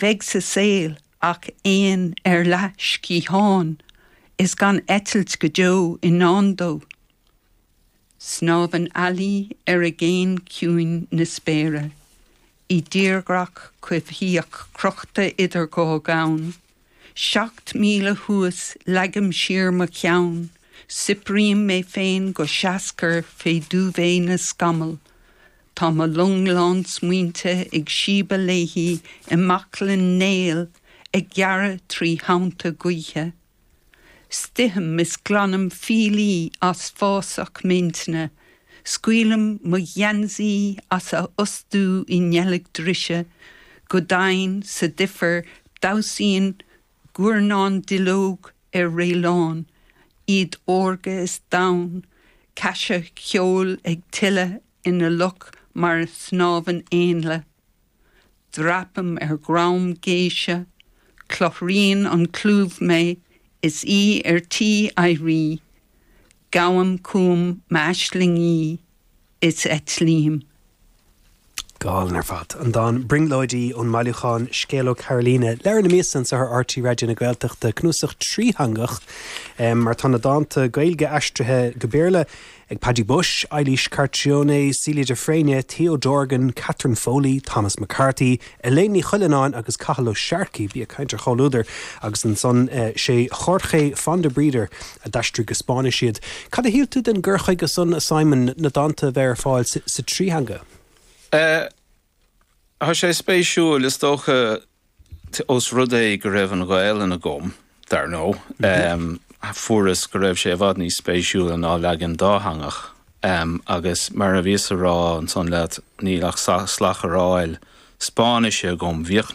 Bheidh sa saol ach éan ar leathsciathán is gan eitilt go deo i ndán dó. Snámhann ealaí ar aigéan ciúin na spéire, i dtírdhreach coimhthíoch crochta idir dhá dhomhan. 7000 thuas leagaim siar mo cheann, soiprím mé féin go seascair fé duvet na scamall. Tá mo long lán smaointe ag síobadh léi i mbaclainn néal ag gearradh trí thonnta gaoithe. Stoithim is glanaim fiailí as fásach m'intinne, scaoilim mo gheansaí as a fhostú i ndeilg drise, go domhain sa duifear damhsaíonn guairneán duilleog ar réileán, iad órga is donn, caise cheoil ag tuile ina loch mar a shnámhann éanlaith. Dreapaim ar dhroim géise, cluthraíonn an clúmh mé is í ar tí éirí, gabhaim chugam m'aislingí is eitlím. Go hálainn ar fad. An dán 'Brionglóidí' ón mbailiúchán Scéal ó Carolina. Leabhar na Míosa anseo ar RTÉ Raidió na Gaeltachta, cnuasach trítheangach mar tá na dánta Gaeilge aistrithe go Béarla ag Paddy Bushe, Eilís Carcione, Celia de Fréine, Theo Dorgan, Catherine Foley, Thomas McCarthy, Elaine Ní Chuilleanáin agus Cathal Ó Searcaigh, bí ag caint ar chomhluadar, agus ansan sé Jorge Fondebrider a d'aistrigh go Spáinnis iad. Cad a shíl tú den gcur chuige san, a Simon, na dánta a bheith ar fáil sa trí theanga? Tá sé spéisiúil, is dócha, ós rud é go raibh an Ghaelainn agam, dar ndóigh, fuaireas go raibh sé i bhfad níos spéisiúla ná leagan dátheangach. Agus mar a bhíos a rá ansan leat, níl ach sladcharráil Spáinnise agam. Bhíodh.